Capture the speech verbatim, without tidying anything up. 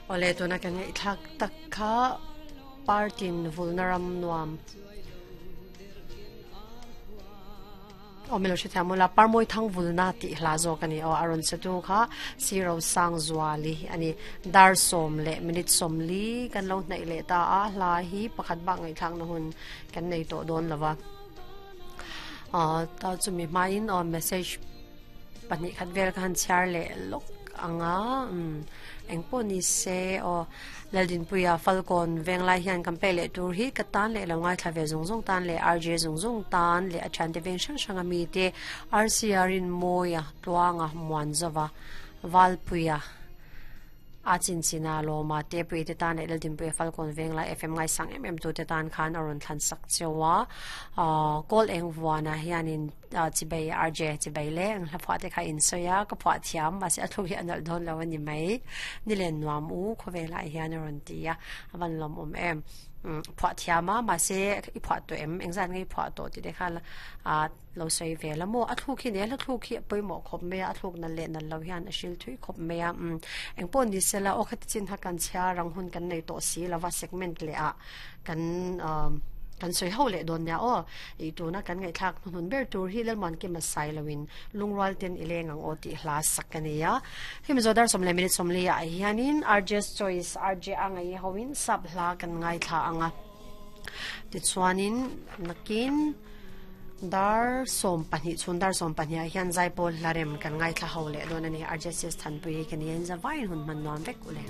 Ole tuna kan ngai thak tak kha partin vulnaram nuam omelo shi thamula parmoi thang vulna ti hla zo kani o aron satu kha zero sang zuali ani dar som le minute som li kan lo hnai le ta a hla hi pakhat ba ngai thang na hun kan nei to don lawa a ta chu mi main o message pahnih khat vel khan char le lok anga um engpo ni se o laldin puya falcon venglai hian kampe le tur hi ka tan le lo ngai thlave zung zung tan le rj zung zung tan le achan te veng sang sanga mi te rcr in moya tuanga muanzawa valpuya a chin china lo ma te pui te tan le laldin puya falcon venglai fm ngai sang em em tu te tan khan aron thlan sak chewa a kol eng wana hianin chibei rj chibei le ang hla phwa te kha in soya ka phwa thiam ma se athu hi anal don lo ani mai nilen nuam u khowela hian aron tia awan lom om em phwa thiama ma se i phwa to em engzan ngai phwa to ti de kha a lo sei ve la mo athu khi ne la thu khi poi mo khop me a thuk na le na lo hian a shil thui khop me a eng pon ni sela o khat chin ha kan chha rang hun kan nei to si lawa segment le a kan kan soi ho le don nya o i tu na kan ngai thak hun ber tur hi lel man ki ma sai lawin lungwal ten ileng ang o ti hla sakania him zodar somle minute somle ya hianin rj choice rj angai howin sab hla kan ngai tha anga ti chuanin nakin dar som pahnih chun dar som pahnih ah hian zaipol hlarem kan ngai thla ho le don ani rj sis thanpui kan yen za vain hun man nuam vek ule.